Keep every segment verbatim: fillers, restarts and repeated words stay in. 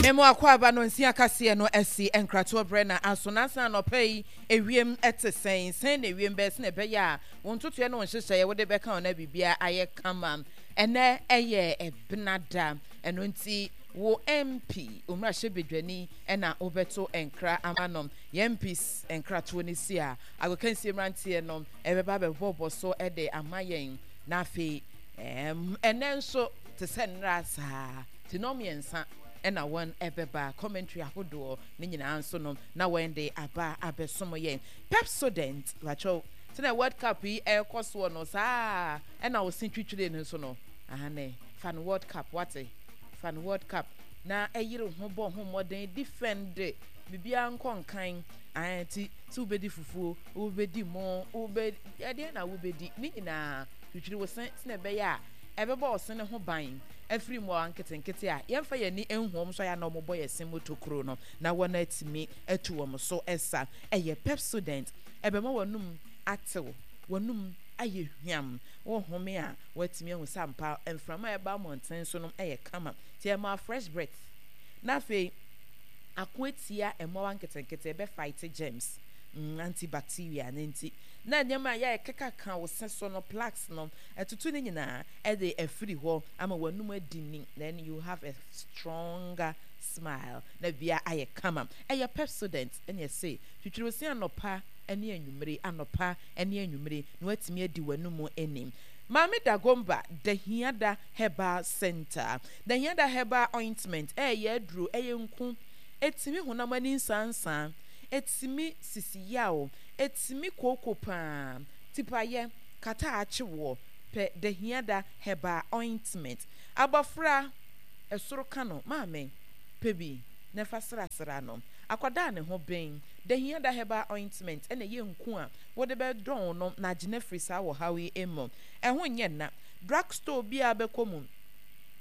Memo akwaaba no nsia kaseɛ no asi nkratoɔ berɛ na aso na asan anɔpa yi. Ewiem te sɛn? Sɛn na ewiem bɛyɛ sɛnea ɛbɛyɛ a wo ntotoeɛ ne wo nhyehyɛeɛ wode bɛka wo na biribiara ayɛ kama? Ɛnɛ ɛyɛ Ɛbenada, ɛno nti wo M P, wo mmarahyɛbadwani, ɛna wobɛto nkra ama no. Yɛn M Ps nkratoɔ no si a, agokansie mmeranteɛ no ɛbɛba abɛbɔbɔ so de ama yɛn. Na afei ɛm ɛnɛ nso te sɛ nnra saa, ti nɔ mmiɛnsa ɛna wɔn ɛbɛba commentary ahodoɔ ne nyinaa nso no na wɔn de aba abɛsom yɛn. Pepsodent wakyɛw sɛnɛ World Cup yi ɛrekɔ soɔ no saa ɛna wɔsi twitwire no nso no ahane fa no World Cup, wate, fa no World Cup na ɛyere ho bɔ ho mmɔden defend biribiara nkɔ nkan ti sɛ wobɛdi fufuo, wobɛdi mo, wobɛ ɛdeɛ na wobɛdi ne nyinaa, twitwiri wo se sɛnɛ ɛbɛyɛ a ɛbɛbɔ wo se ne ho ban afiri mmoawa nketenkete a yɛmfa yɛn ani nhu wɔn so a yɛa na wɔbɔ yɛn se mu tokuro no na wɔn atumi atu wɔn so ɛsa. Ɛyɛ Pepsodent, ɛbɛma wɔnum atew, wɔnum ayɛ hwam, wɔhome a wɔatumi ahu sɛ ampa mframa a ɛba mmɔnten so no ɛyɛ kama, nti ɛma fresh breath. Na afei ako atia mmoawa nketenkete, ɛbɛ fight germs, mm, antibacteria ne nti na nneɛma a yɛ keka ka wo se so no, plaques no, ɛtutu ne nyinaa ɛde afiri hɔ ama wɔnum adi ni. Then you have a stronger smile na bia ayɛ kama. Ɛyɛ Pepsodent ɛne ɛsɛ twitwiri wo se anɔpa ne anwummere, anɔpa ne anwummere, na watumi adi w'anum anim. Maame Dagomba, Dahiada Herbal Center, Dahiada Herbal Ointment, ɛyɛ aduro, ɛyɛ nku, ɛtumi honam ani nsansan, ɛtumi sisi yaw, ɛtumi kooko paa, tipayɛ kata akyewoɔ pɛ Dahiada Herbal Ointment. Abɔfra ɛsoro ka no, maame pɛ bi na ɛfa srasra no, akwadaa ne ho bɛn Dahiada Herbal Ointment ɛna ɛyɛ nku a wode bɛdɔn no na agyina firi saa wɔ haw yi mu. Ɛho nyɛ nna. Drugstore biara bɛkɔ mu,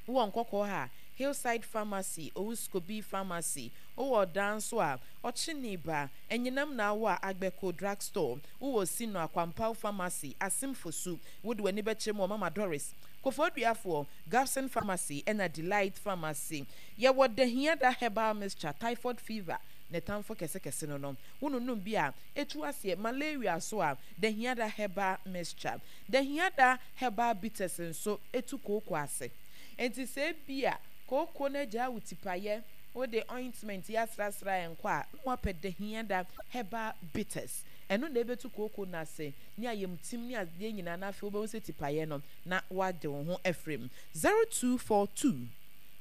wowɔ Nkɔkɔɔ ha, Hillside Pharmacy, Owuskobi Pharmacy, wowɔ ɔdan nso a Ɔkyene ba Anyinam na awɔ a Agbɛko Drugstore, wowɔ Sino Akwampaw Pharmacy, Asemfosu, wode w'ani bɛkyerɛ mu wɔ Mama Doris, Kofoduafoɔ, Gabson Pharmacy ɛna Delight Pharmacy. Yɛwɔ Dahiada Herbal Mixture, typhoid fever ne tamfo kɛsekɛse no no wononum bi a ɛtu aseɛ, malaria so a Dahiada Herbal Mixture, Dahiada Herbal Bitters nso ɛtu kooko ase. Nti sɛ bi a kooko no agyaa wo tipayɛ, wode ointment yi asrasra nkɔ a, na wapɛ Dahiada Herbal Bitters, ɛno na ɛbɛtu kooko no ase ne ayamtim ne adeɛ nyinaa, na afei wobɛhu sɛ tipayɛ no na wade wo ho afiri mu. zero two four two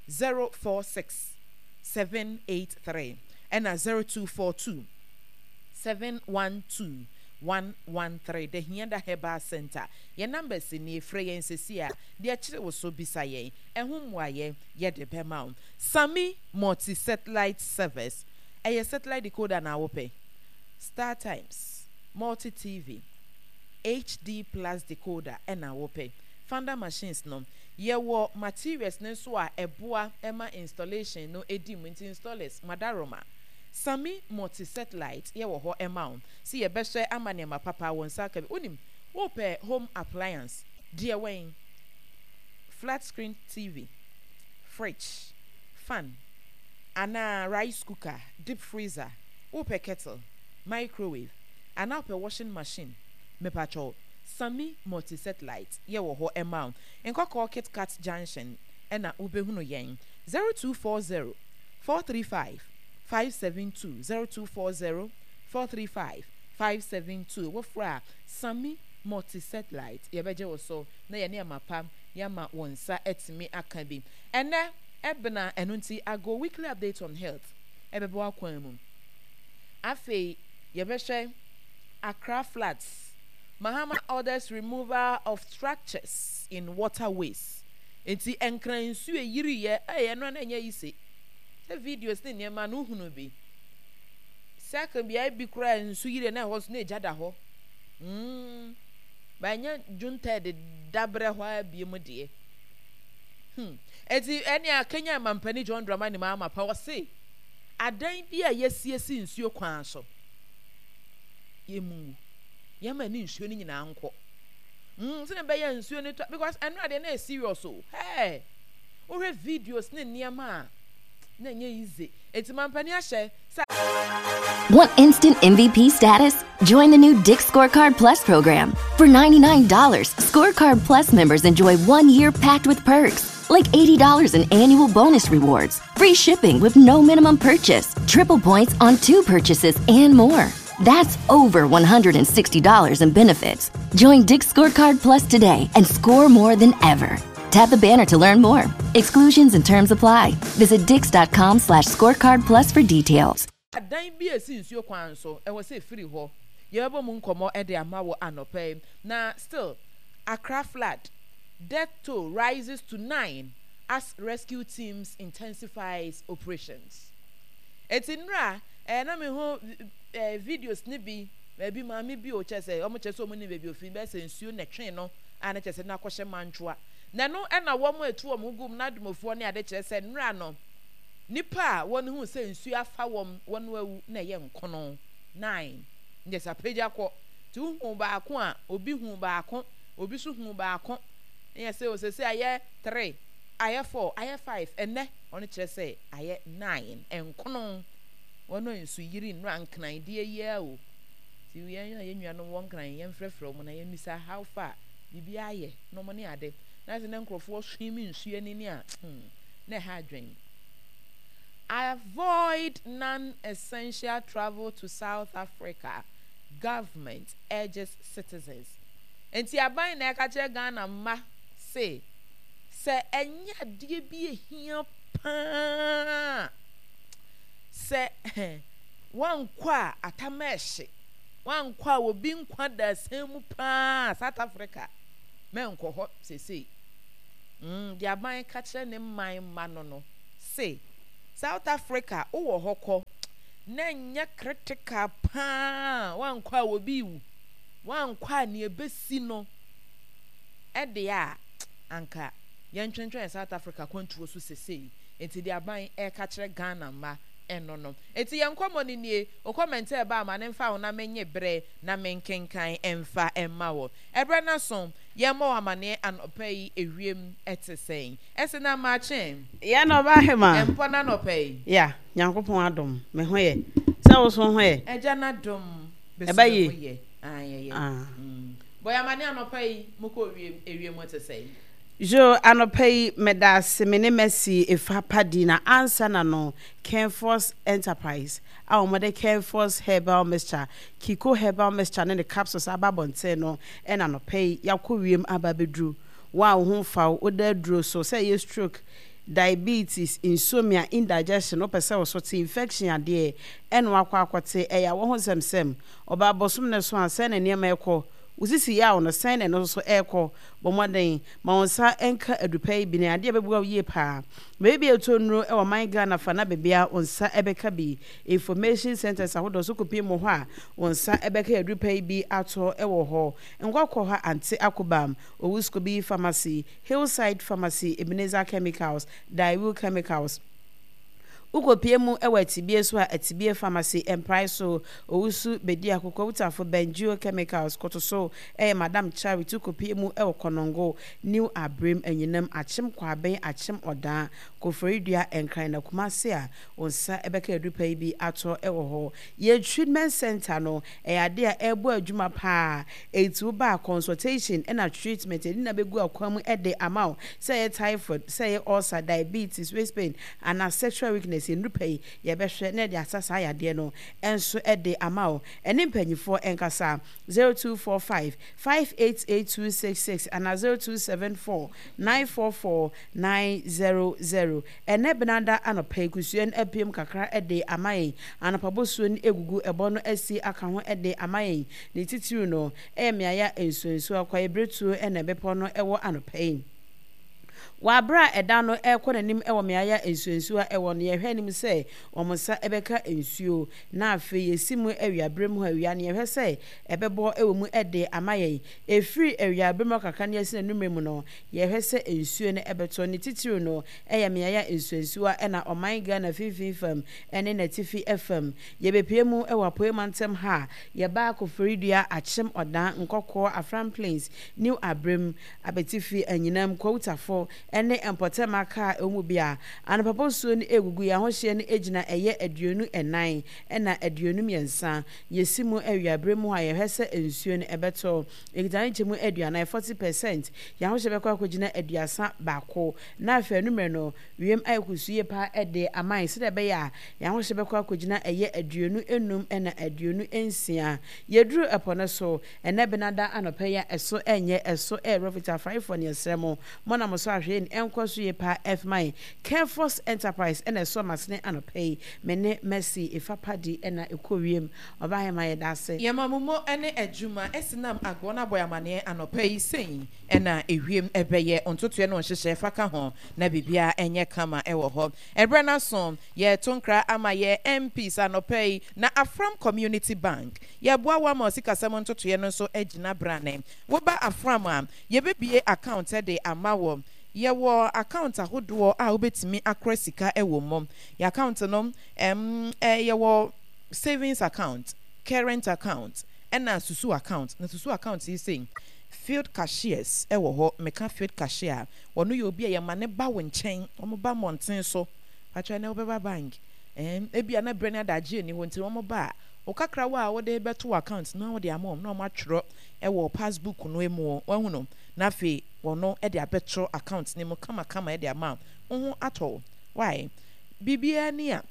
zero four six seven eight three ɛna zero two four two seven one two one one three. Dahiada Herbal Center, yɛn numbers ni, frɛ yɛn sɛsi a deɛ kyerɛ wo so bisa yɛn ɛho mmuayɛ yɛde bɛma wo. Sami Multi Satellite Service, ɛyɛ satellite decoder na wopɛ, Star Times, Multi T V, H D Plus decoder ɛna wopɛ, Funder machines no, yɛwɔ materials ne nso a ɛboa ɛma installation no edi mu. Nti installers madaroma, Sami Multi Satellite yɛwɔ hɔ ɛma wo si yɛbɛhyɛ ama nneɛma papa wɔn nsa aka bi. Wonim wopɛ home appliance deɛ, wɛn flat screen T V, fridge, fan anaa rice cooker, deep freezer, wopɛ kettle, microwave anaa wopɛ washing machine, mepatwɛw, Sami Multi Satellite yɛwɔ hɔ ɛma wo. Nkɔkɔɔ Kitkat Junction ɛna wobɛhunu yɛn. zero two four zero four three five five seven two, zero two four zero four three five five seven two. Wofra a Sami Multi Satellite yɛbɛgye wo so na yɛne ama pa yɛama wɔn nsa atumi aka bi. Ɛnɛ ɛbena, ɛno nti ago weekly update on health ɛbɛbɔ akwan mu. Afei yɛbɛhwɛ Accra floods, Mahama orders removal of structures in waterways. Nti Nkran nsuo eyiriiɛ ɛyɛ no na ɛnyɛ yi se sɛ videos ne nneɛma no hunu bi sɛ beaeɛ bi koraa nsu yiri na ɛhɔ nso na egya da hɔ mm banyɛ June third dabrɛ hɔ a bie mu deɛ hmm eti ɛne a Kenya mampanin John Dramani Mahama pa ɔse adan bi a yɛsiesie nsuo kwan so yɛmu yɛma ne nsuo no nyinaa nkɔ mm sɛ bɛyɛ nsuo no tɔ because ɛno adeɛ na yɛ serious o. Hey, wohwɛ videos ne nneɛma a na ɛnyɛ easy. Enti mampanin ahyɛ sɛ. Want instant M V P status? Join the new Dick's Scorecard Plus program. For ninety-nine dollars, Scorecard Plus members enjoy one year packed with perks, like eighty dollars in annual bonus rewards, free shipping with no minimum purchase, triple points on two purchases, and more. That's over one hundred sixty dollars in benefits. Join Dick's Scorecard Plus today and score more than ever. Tap the banner to learn more. Exclusions and terms apply. Visit dicks dot com slash scorecard plus for details. Adan bi a esi nsuo kwan so ɛwɔ sɛ efiri hɔ. Yɛbɛbɔ mu nkɔmɔ de ama wɔ anɔpa yi. Na still, Accra flood death toll rises to nine as rescue teams intensifies operations. Eti nnura ɛɛ na mi ho ɛɛ videos ne bi baabi maame bi o kyerɛ sɛ wɔn kyerɛ sɛ wɔn ni baabi ofi bɛyɛ sɛ nsuo na ɛtwe no a ne kyerɛ sɛ n'akɔhyɛ mantwoa na ɛno ɛna wɔn etu wɔn ho gum na adumofoɔ ne ade kyerɛ sɛ nnura no nipa a wɔn ho sɛ nsuo afa wɔn wɔn awu na ɛyɛ nkono nine nyɛ sɛ apagya kɔ te hu baako a obi hu baako, obi so hu baako nyɛ sɛ osese ayɛ three, ayɛ four, ayɛ five, ɛnɛ ɔno kyerɛ sɛ ayɛ nine, nkono wɔn a nsu yiri nnura Nkran deɛ yia o. Ti yɛn a yɛn nuanom wɔ Nkran, yɛn frɛfrɛ wɔn na yɛn misa how far biribi ayɛ na wɔn ne ade na sɛ ne nkurɔfoɔ swim nsuo ani ne a hmm na ɛha adwene. Avoid non-essential travel to South Africa, government urges citizens. Nti aban na ɛka kyerɛ Ghana mma se sɛ ɛnyɛ adeɛ bi ehia paa sɛ wankɔ a atama ɛhye, wankɔ a obi nkwa da asɛn mu paa, South Africa mɛnkɔ hɔ sesei. mm, deɛ aban ka kyerɛ ne man mma no no se South Africa wowɔ hɔ kɔ na nyɛ critical paa, wankɔ a obi wu, wankɔ a nea ebesi no ɛde a anka yɛntwentwɛn South Africa kwantuo so sesei. Nti deɛ aban ɛka kyerɛ Ghana mma ɛno no. Nti yɛn nkɔmmɔ no nie. O comment ɛba ama ne mfa wo na menye berɛ na menkenkan ɛmfa ɛmma wɔ ɛberɛ no so. Yɛmmɔ wɔ amanneɛ anɔpa yi ewiem ɛte sɛn ɛsɛ na maakye. Yɛ na ɔba ahema. Ɛmpɔ na anɔpa yi. Ya, Nyankopɔn adom, me ho yɛ. Sɛ wo so ho yɛ? Agya n'adom bɛsi Ɛba me ho yie. yɛ. Ayɛyɛ. Ah. Bɔ yɛ amanneɛ anɔpa yi mokɔ wiem ewiem te sɛn? Jo, anɔpa yi meda ase. Me ne Mercy Efa Padi na ansa na no Kenforce Enterprise a wɔde Kenforce Herbal Mixture, Kiko Herbal Mixture ne ne capsules aba abɔnten no ɛna anɔpa yi yɛakɔ wiem aba abɛduru. Wo a wo ho mfa wo, woda aduro so, sɛ ɛyɛ stroke, diabetes, insomnia, indigestion, wopɛ sɛ wo so te, infection adeɛ ɛna wakɔ akɔte, ɛyɛ awɔ ho nsɛmsɛm, ɔbaa bɔsom ne so a sɛn na nneɛma ɛkɔ, wo sisi yaw no sɛn na ɛno nso ɛrekɔ, bɔ mmɔden ma wo nsa nka adupa yi bi na adeɛ bɛboa wo yie paa. Baabi a ɛtɔ nnuro wɔ man Ghana fa na baabi a wo nsa bɛka bi, information centers ahodoɔ so kɔpie mu hɔ a wo nsa bɛka adupa yi bi atɔ wɔ hɔ. Nkɔkɔ hɔ ante akobam Owuskobi Pharmacy, Hillside Pharmacy, Ebenezer Chemicals, Daewoo Chemicals. Wokɔpie mu wɔ Atibie so a, Atibie Pharmacy, Mprae so Owusu Bedi Akokɔ Wutafo, Bengio Chemicals, Kotoso ɛyɛ Madam Charity. Wokɔpie mu wɔ Kɔnɔngo, New Abrem, Anyinam, Akyem Kwaben, Akyem Ɔdan, Koforidua, Nkran na Kumase a wo nsa bɛka adupa yi bi atɔ wɔ hɔ. Yɛn treatment center no ɛyɛ ade a ɛrebɔ adwuma paa. Eti wo ba consultation ɛna treatment ɛdi na bɛgu akwan mu ɛde ama wo, sɛ ɛyɛ typhoid, sɛ ɛyɛ ulcer, diabetes, waist pain anaa sexual weakness, nnupa yi yɛbɛhwɛ na yɛde asa saa yadeɛ no ɛnso ɛde ama wo. Ɛne mpanyinfoɔ ɛnkasa zero two four five five eight eight two six six anaa zero two seven four nine four four nine zero zero. Ɛnɛ benada anɔpa yi kusua no apiem kakra ɛde ama yɛn. Anɔpa bosuo no egugu ɛbɔ no asi aka ho ɛde ama yɛn. Ne titiri no ɛyɛ mmeaeɛ a nsuonsuo akwaeɛ beretuo ɛna ɛbepɔ no ɛwɔ anɔpa yi. Wɔ abere a ɛda no ɛrekɔ n'anim wɔ mmeaeɛ a nsuonsuo a ɛwɔ no, yɛhwɛ anim sɛ wɔn nsa bɛka nsuo. Na afei yɛsi mu awiabere mu hɔ, awia no yɛhwɛ sɛ ɛbɛbɔ wɔ mu de ama yɛn. Ɛfiri awiabere mu kakra ne asi n'anumere mu no, yɛhwɛ sɛ nsuo no ɛbɛtɔ. Ne titiri no ɛyɛ mmeaeɛ a nsuonsuo ɛna ɔman Ghana mfimfini fam ɛne n'atifi fam. Yɛbɛpie mu wɔ Apuei mantam ha a, yɛbaa Koforidua, Akyem Ɔdan, Nkɔkɔɔ, Afram Plains, New Abrem, Abetifi, Anyinam, Kwawutafo. ne mpɔtam aka a ɛwɔ mu bi a anɔpa bosuo no egugu yɛn ahohyɛ no gyina ɛyɛ aduonu ɛnan ɛna aduonu mmiɛnsa. Yɛsi mu awiabere mu a yɛhwɛ sɛ nsuo no ɛbɛtɔ ekita ne nkyɛmu aduanan forty percent. Yɛn ahohyɛ bɛkɔ akɔgyina aduasa baako na afei anummerɛ no wiem ayɛ kusuu yie paa ɛde aman sɛdeɛ ɛbɛyɛ a yɛn ahohyɛ bɛkɔ akɔgyina ɛyɛ aduonu enum ɛna aduonu nsia. Yɛduru ɛpɔ no so ɛnɛ benada anɔpɛ yi a ɛso ɛnyɛ ɛso ɛyɛ rɔfita afraefoɔ ne ɛsrɛ mo mo na mo so ahwɛ ni ɛnkɔ so yie paa ɛfman Carefos Enterprise ɛna ɛso amasene anɔpɛ yi. Me ne Mercy Efapadi ɛna ɛkɔ wiem ɔbaa yɛ ma yɛda ase. Yɛma mo mo ne adwuma ɛsinam agorɔ no abɔ amanneɛ anɔpa yi sɛn ɛna ewiem ɛbɛyɛ ntotoɛ no nhyehyɛ fa ka ho na biribiara ɛnyɛ kama ɛwɔ hɔ. Ɛberɛ no so yɛto nkra ama yɛ M Ps anɔpa yi na Afram Community Bank yɛboa wo ama ɔsikasɛm ntotoeɛ no nso agyina brane. Woba Afram a, yɛbɛbie account de ama wɔ. Yɛwɔ account ahodoɔ a wobɛtumi akora sika ɛwɔ mu. Yɛ account no ɛm ɛ yɛwɔ savings account, current account, ɛna susu account. Na susu account yi sɛ field cashiers ɛwɔ hɔ. Meka field cashier a, wɔno yɛ obi a yɛma ne ba wo nkyɛn, wɔn ba mmɔnten so patwa na wobɛba bank ɛn ebi a na brɛ ne adagye ni hɔ nti wɔn ba a, wo kakrawa a wɔde bɛto account na wɔde ama wɔn na wɔn atwerɛ ɛwɔ passbook no mu. Wɔn no na afei wɔn ɛde abɛto account ne mu kamakama ɛde ama wo ho atɔ. Why biribiara ni a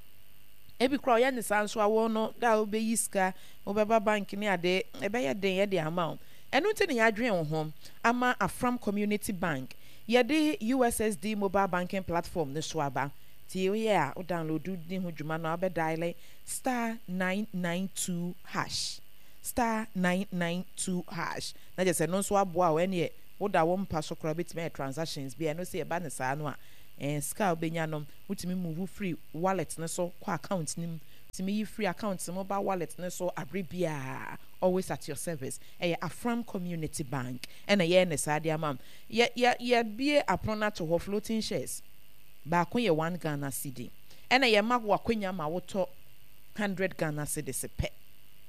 ebi koraa ɔyɛ ne saa nso awɔ no da a wobɛyi sika wobɛba bank ne ade ɛbɛyɛ den ɛde ama wo. Ɛno nti ne yɛadwene wo ho ama Afram Community Bank yɛde U S S D mobile banking platform ne so aba. Nti woyɛ a, wo download di ho dwuma no a, wobɛdial star nine nine two hash, star nine nine two hash na kyerɛ sɛ no nso aboa wo. Ɛneɛ woda wo mpa so koraa, wobɛtumi ayɛ transactions bi a ɛno sɛ yɛba ne saa no a, ɛɛ sika a wobɛnya no, wotumi move firi wallet ne so kɔ account no mu, wotumi yi firi account mu ba wallet ne so abere biara. Always at your service. Ɛyɛ Afram Community Bank ɛna yɛyɛ ne saa de ama yɛ yɛ yɛbie apono no ato hɔ. Floating shares baako yɛ one Ghana cedi ɛna yɛma wo akwanya ma wotɔ hundred Ghana cedis pɛ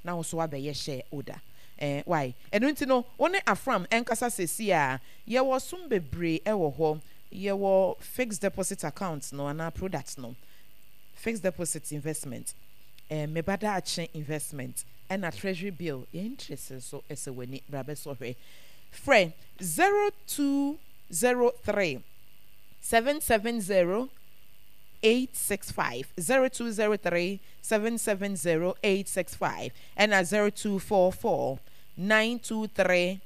na wo so wabɛyɛ share holder. ɛɛ why ɛno nti no wo ne Afram ɛnkasa sɛsi a yɛwɔ som bebree ɛwɔ hɔ. Yɛwɔ fixed deposit account no anaa product no, fixed deposit investment, ɛɛ meba daakye investment, ɛna treasury bill. Yɛn interest nso ɛsɛ w'ani bra bɛsɔ hwɛ. Frɛ zero two zero three seven seven zero eight six five, zero two zero three seven seven zero eight six five, ɛna zero two four four nine two three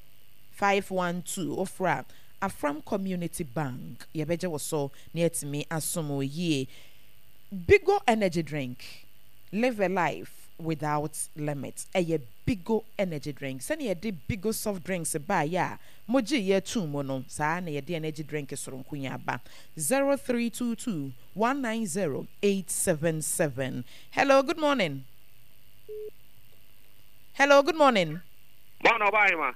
five one two. Ofra Afram Community Bank, yɛbɛgye wo so na yɛtumi asom wo yie. Bigo Energy Drink, live a life without limit. Ɛyɛ Bigo Energy Drink. Sɛnea yɛde Bigo soft drinks baayɛ a mogye yɛ tum mu no, saa na yɛde energy drink soronko yi aba. zero three two two one nine zero eight seven seven. Hello, good morning. Hello, good morning. Bɔn ɔbaa yi ma.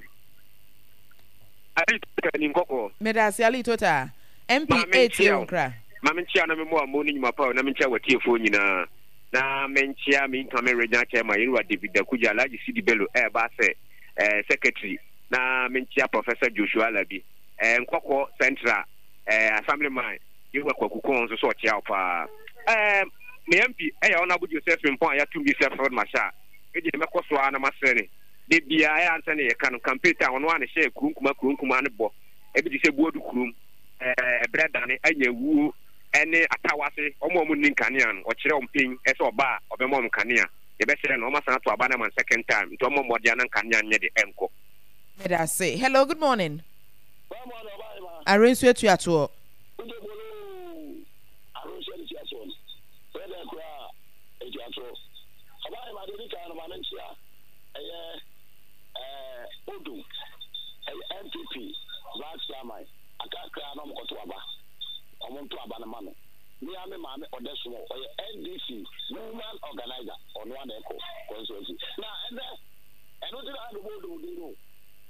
Ali Tota ni nkɔkɔɔ. Medase, Ali Tota. M P eight yɛ nkra. Maame, nkyia na memmɔ amo ne nnwuma pa na menkyia watiefoɔ nyinaa na menkyia me incoming regional chairman, yɛnwura David Dakuja. Alhaji Sidi Bello ɛɛba sɛ ɛɛ secretary na menkyia Professor Joshua Alabi, ɛɛ Nkɔkɔ Central ɛɛ assemblyman, yɛwura Kwaku Kɔn nso so ɔkyea wo paa. ɛɛ me M P ɛyɛ Honourable Joseph Mpɔn a yɛatum bi sɛ field marshal. Ɛdeɛ mɛkɔ so ara na masrɛ ne de biara ɛyɛ ansa ne yɛka no campaign time, ɔno a ne hyɛ kuro nkuma kuro nkuma ne bɔ ebi te sɛ Buodu kurom, ɛɛ ɛbrɛ dane anya wuo ɛne Atawase, ɔmo a ɔmo nni nkanea no, ɔkyerɛ ɔmo pɛn ɛsɛ ɔba a ɔbɛma ɔmo nkanea. Yɛbɛsrɛ no ɔmo asan ato aba no ama no second time nti ɔmo mmɔden ana nkanea nyɛ de ɛnkɔ. Medase. Hello, good morning. Arensu atuatoɔ. Arensu atuatoɔ no sɛ dɛ koraa atuatoɔ ɔbaa ma de di kan no ma menkyea ɛyɛ ɛɛ Odum ɛyɛ N P P vice chairman akakra na ɔmo kɔto aba, ɔmo nto aba no ma no. Me a me maame ɔdɛ som ɔyɛ N D C woman organizer, ɔno ana ɛkɔ constituency na ɛnɛ ɛno ti na ɛbɛbɔ Odum din no.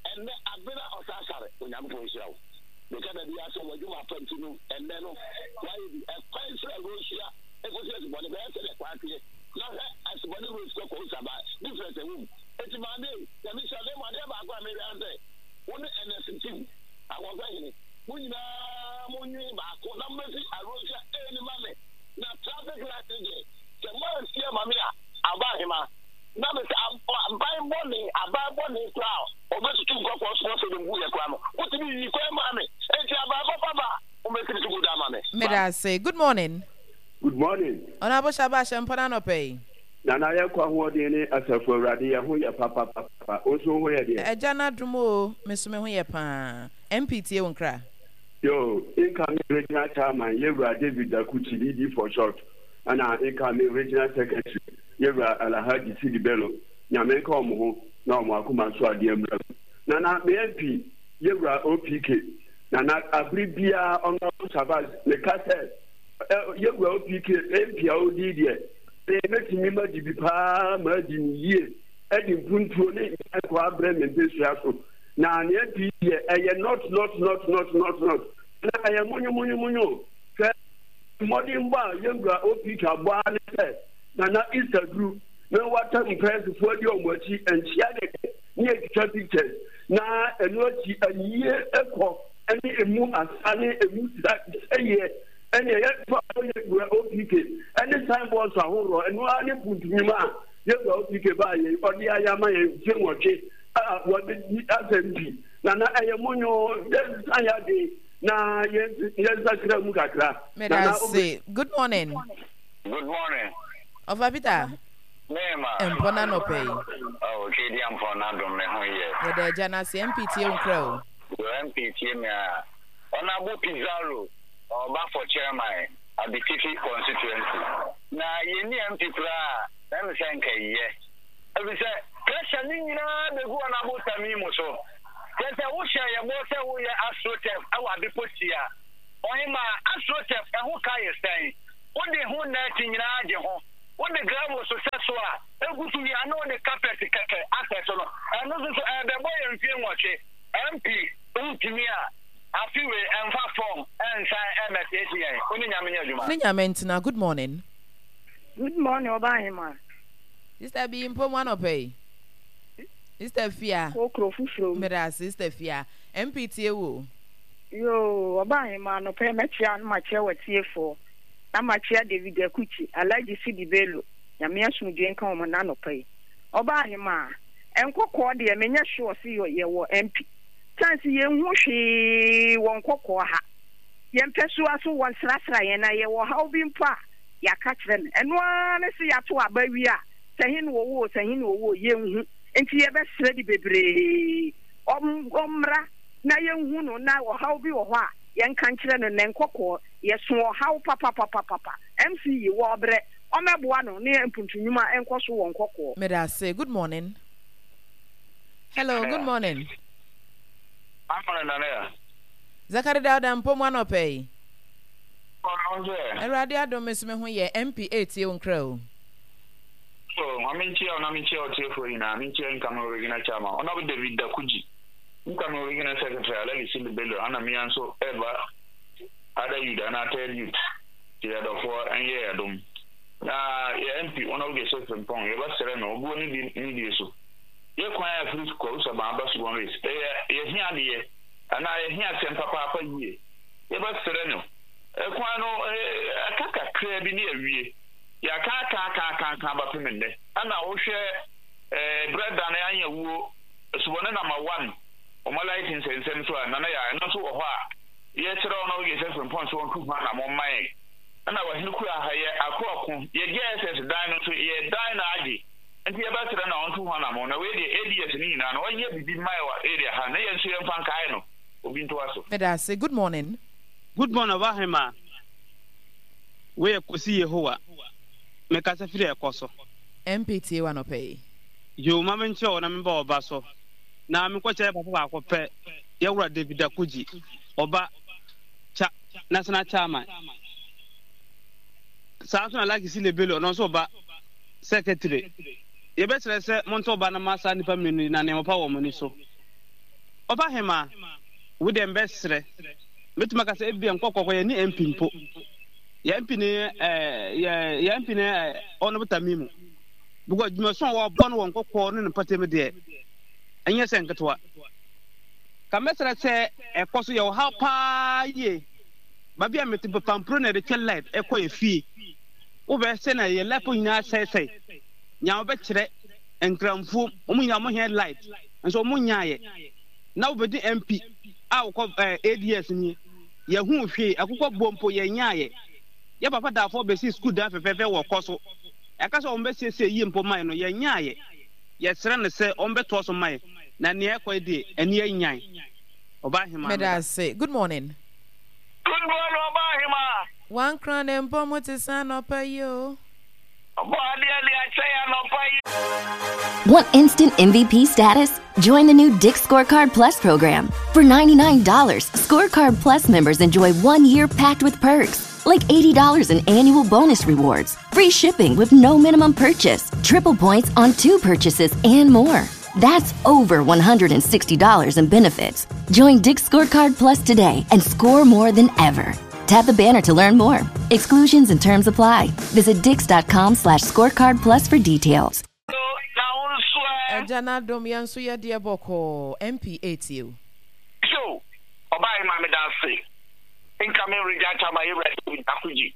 Ɛnɛ Abena Ɔsasare, Onyankopɔn nhyira wo. Meka da bi asɛ w'adwuma apa nti no ɛnɛ no wayɛ bi ɛkwan fira Rosia ekosi Asubɔne bɛyɛ sɛ deɛ kwan teɛ na hwɛ Asubɔne road kɔ kɔ Osaba difference ɛwɔ mu. Eti maame yi, Nyame hyira na emu adeɛ baako a mehwɛ ara sɛ wo ne N S team ahoɔfɛ hene mo nyinaa mo nwi. Meda ase. Good morning. Good morning. Honorable Shabash mpɔna anɔpɛ yi. Nana yɛ kɔ ahoɔden ne asafo Awurade yɛ ho yɛ papapapa. Wo nso ho yɛ deɛ? Agya no adom o, me so me ho yɛ paa. M P tie wo nkra. Yo, incoming regional chairman yɛwura David Dakuchi, D D for short, ɛna incoming regional secretary yɛwura Alhaji Sidi Bello. Nyame nka ɔmo ho na ɔmo akoma so adeɛ mmra mu. Nana, me M P yɛwura O P K, Nana, abere biara Honorable Shabazz meka sɛ yɛwura O P K M P a odi deɛ mɛtumi ma di bi paa ma adi ne yie, ɛde mpuntuo ne nkɔ abrɛ me mpɛsua so. Na ne M P deɛ ɛyɛ not not not not not not na ɛyɛ monyo monyo monyo sɛ mmɔden bɔ a yɛwura O P K abɔ ara ne sɛ Nana Easter duru na wata mpɛɛsefoɔ adi ɔmo akyi nkyia kɛkɛ ne yɛtwitwa pictures, na ɛno akyi ayie ɛkɔ ɛne emu asa ne emu sa sɛyɛ ɛne ɛyɛ fa yɛwura O P K ɛne signboards ahoroɔ. Ɛno ara ne mpuntunyuma a yɛwura O P K baa yɛn ɔde ayɛ ama yɛn mfe nwɔtwe a wɔde di asɛm pi. Nana, ɛyɛ monyo, yɛnsa yɛ ade na yɛnsakra mu kakra. Meda ase. Good morning. Good morning. Ɔfa Peter. Mema. Mpɔna anɔpɛ yi. Oh, Twedi Ampɔn n'adom me ho yɛ. Yɛda agya no ase. M P tie wo nkra o. Yo, M P tie me a. Honorable Pizarro, ɔba for chairman, Abetifi constituency. Na yɛnni M P koraa, na ɛmi sɛ nka yɛ. Ebi sɛ pressure ne nyinaa bɛgu Honorable Tamimu so. Kyerɛ sɛ wohyɛ yɛ bɔ sɛ woyɛ astroturf ɛwɔ Adepotia. Ɔhema, astroturf ɛho ka yɛ sɛn? Wode ho net nyinaa gye ho. Wode gravel so sɛ so a egu so wie a na wode carpet kɛkɛ asɛ so no, ɛno nso so ɛbɛbɔ yɛ mfie nwɔtwe. M P ntumi a afi wei ɛmfa fam ɛnsan ɛmɛsiesie yɛn. Wo ne Nyame nyɛ adwuma. Ne Nyame ntena. Good morning. Good morning, Ɔbaahema. Sister bi mpo mu anɔpɛ yi. Sister Fia. Kokro foforɔ mu. Meda ase, Sister Fia. M P tie wo. Yoo, Ɔbaahema, anɔpɛ mɛkyia no, makyia w'atiefoɔ na makyia David Akuchi, Alhaji Sidi Bello, Nyame asomdwe nka wɔn n'anɔpɛ yi. Ɔbaahema, nkɔkɔɔ deɛ menyɛ sure se yɛwɔ M P. Chance yɛnhu hwee wɔ nkɔkɔɔ ha. Yɛmpɛ so aso wɔ nsrasra yɛn na yɛwɔ haw bi mpo a yɛaka kyerɛ no. Ɛno ara ne sɛ yɛato aba wie a, sɛ he na wɔwɔ o, sɛ he na wɔwɔ o, yɛnhu. Nti yɛbɛsrɛ de bebree ɔmmra na yɛnhu no, na ɔhaw bi wɔ hɔ a yɛnka nkyerɛ no. Na nkɔkɔɔ yɛso ɔhaw papapapapa. M C yi wɔ ɔbrɛ ɔmɛboa no ne mpuntunnwuma nkɔ so wɔ nkɔkɔɔ. Meda ase. Good morning. Hello, good morning. Amana Nana ya. Zakari Dauda mpo mu anɔpɛ yi. Ɔno sɛ. Awurade adom, me so me ho yɛ. M P etie wo nkra o. So, ma menkyia wo na menkyia ɔtiefoɔ nyinaa, menkyia incoming regional chairman Honorable David Dakuji, incoming regional secretary Alhaji Sidi Bello, ana mmea nso ɛba other youth anaa third youth te yɛdɔfoɔ ɛnyɛ yɛdom. Na yɛ M P Honorable Joseph Frimpong, yɛbɛsrɛ no obuo ne di ne die so. Yɛ kwan a ɛfiri Kwawu Saban aba Subɔn Race, ɛyɛ yɛhia adeɛ anaa yɛhia asɛm papaapa yie. Yɛbɛsrɛ no, ɛkwan no ɛka kakraa bi ne awie. Yɛaka aka aka aka aka abapem nnɛ. Ɛna wohwɛ ɛɛ berɛ da no anya wuo Subɔne number one ɔmo light nsɛnsɛm so a Nana yɛ ɛno nso wɔ hɔ a yɛsrɛ ɔno Joseph Frimpong so ɔntu ho anammɔ mma yɛn. Ɛna wahene kura ha yɛ ako ako yɛ J S S dan no nso yɛ dan na agye, nti yɛbɛsrɛ na ɔntu ho anammɔ. Na wei deɛ A D S no nyinaa no ɔnyɛ bibi mma yɛ wɔ area ha na yɛn nso yɛmfa nkae no. Obi ntoa so. Meda ase. Good morning. Good morning, Ɔbaahema. Wei yɛ Kosi Yehowa. Mekasa firi ɛkɔ so. M P tie wo anɔpɛ yi. Yo, ma menkyerɛ wo na memba ɔba so. Na menkɔkyerɛ papa baako pɛ, yɛwura David Dakuji, ɔba cha national chairman. Saa nso na Lucky Silebelo, ɔno nso ɔba secretary. Yɛbɛsrɛ sɛ monto ɔba no ma saa nnipa mmienu yi na nneɛma pa wɔ wɔn ani so. Ɔba hema, wo deɛ mbɛsrɛ. Mɛtumi aka sɛ ebia nkɔkɔkɔ yɛ ne M P mpo. Yɛ M P ne ɛɛ yɛ yɛ M P ne ɛɛ ɔno Tamimu. Because dwumaso a wɔabɔ no wɔ nkɔkɔɔ ne ne mpɔtam deɛ, ɛnyɛ sɛ nketewa. Ka mɛsrɛ sɛ ɛkɔ so yɛ ɔhaw paa yie. Baabi a mete pampuro na yɛde twɛ light ɛkɔ yɛ fie. Wobɛ sɛ na yɛ light nyinaa sɛesɛe. Nea wobɛkyerɛ nkramfuo, wɔn nyinaa wɔn hia light nso wɔn nyaayɛ. Na wobɛdi M P a wokɔ ɛɛ A D S nie. Yɛhu hwee akokɔ bɔ mpo yɛnyaayɛ. Yɛ papa daafo bɛsi sukuu dan fɛfɛɛfɛ wɔ kɔ so. Ɛka sɛ wɔn bɛsiesie yie mpo man no yɛnyaayɛ. Yɛsrɛ no sɛ wɔn bɛtoa so man na nea ɛkɔ yi deɛ ani anyan. Ɔbaa hema Meda ase. Good morning. Good morning, Ɔbaa hema. Wankra ne mpɔ mu te sɛ anɔpa yi o. Ɔbɔ adeɛ de akyɛ yɛ anɔpa yi. Want instant M V P status? Join the new Dick's Scorecard Plus program. For ninety-nine dollars, Scorecard Plus members enjoy one year packed with perks, like eighty dollars in annual bonus rewards, free shipping with no minimum purchase, triple points on two purchases, and more. That's over one hundred sixty dollars in benefits. Join Dick's Scorecard Plus today and score more than ever. Tap the banner to learn more. Exclusions and terms apply. Visit dicks dot com slash scorecard plus for details. Na wo nso ɛ? Agya n'adom, yɛn nso yɛdeɛ bɔkɔɔ. M P etie o. So ɔbaa hema, meda ase. Incoming regional chairman yɛwura David Akogye,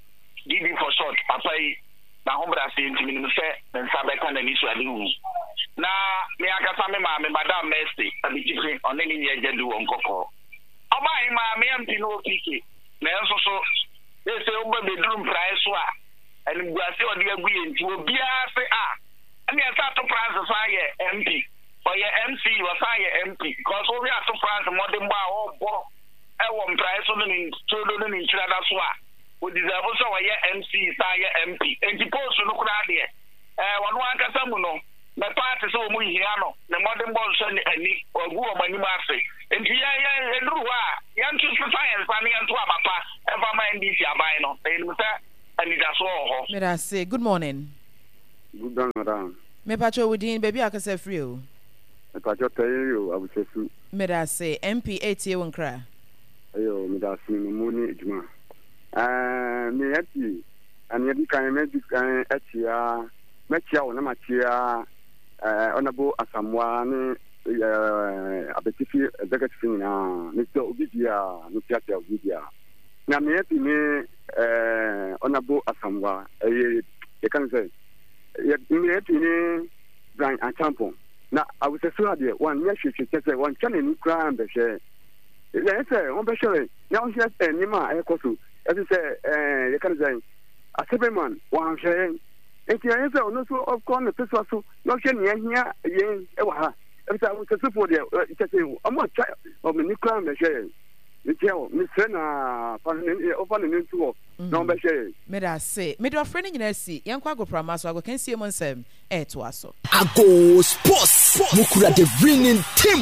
D B for short, papa yi n'ahobrɛase nti menim sɛ ne nsa bɛka n'ani so ade hu. Na me ankasa me maame, Madam Mercy Abitifi, ɔne ne nua agya du wɔ Nkɔkɔɔ. Ɔbaa hema, me M P no wɔ P K, nanso so sɛ woba bɛduru mpraeɛ so a, animguase a ɔde agu yɛ nti obiara se a ɛne ɛsɛ Ato France san yɛ M P, ɔyɛ M C E, ɔsan yɛ M P, because wohwɛ Ato France mmɔdenbɔ a ɔrebɔ ɛwɔ mpraeɛ so ne ne todo ne ne nkyirada so a, ɔdeserve sɛ ɔyɛ M C E san yɛ M P. Nti post no koraa deɛ, ɛɛ ɔno ankasa mu no mɛ party sɛ wɔn hia no, ne mmɔdenbɔ nsɔ ne ani, ɔgu wɔn anim ase. Nti yɛn yɛn eduru hɔ a, yɛnto sesa yɛn nsa ne yɛnto aba pa ɛmfa ma N D C aban no, na yɛnim sɛ anidasoɔ wɔ hɔ. Meda ase. Good morning. Good morning, madam. Mepakyɛ wo din, baabi a akasa firi o. Mepakyɛ tɛyɛ o, Abusasu. Meda ase. M P etie wo nkra. Ɛyɛ, meda ase no mu ne adwuma. Ɛɛ me M P, ɛnea di kan mɛdi kan akyia, mɛkyia wo na makyia ɛɛ Honourable Asamoah ne ɛɛ Abetifi executive nyinaa. Mekyia obi biara, mekyiakyia obi biara. Na me M P ne ɛɛ Honourable Asamoah, ɛyɛ yɛka no sɛ yɛ me M P ne Bryan Acheampong na Awusasu adeɛ wɔnyɛ hwehwɛ kyɛ sɛ wɔntwa n'ani koraa mbɛhwɛ yɛn sɛ wɔbɛhwɛ na wɔhwɛ nneɛma a ɛkɔ so ɛfi sɛ ɛɛ yɛka no sɛ assemblyman wɔanhwɛ yɛn, nti ɛyɛ sɛ ɔno nso ɔkɔ ne pesoa so na ɔhwɛ nea ɛhia yɛn ɛwɔ ha, ɛfi sɛ Awusasufoɔ deɛ kyɛ sɛ ɔmo atwa ɔmo ani koraa mbɛhwɛ yɛn. Nti ɛwɔ mesrɛ na fa ne ɔfa ne nto hɔ na ɔbɛhwɛ yɛn. Meda ase. Mede ɔfrɛ no nyinaa si. Yɛnkɔ agoprama so, agokansie mu nsɛm ɛɛtoa so. Ago Sports, mukura the winning team.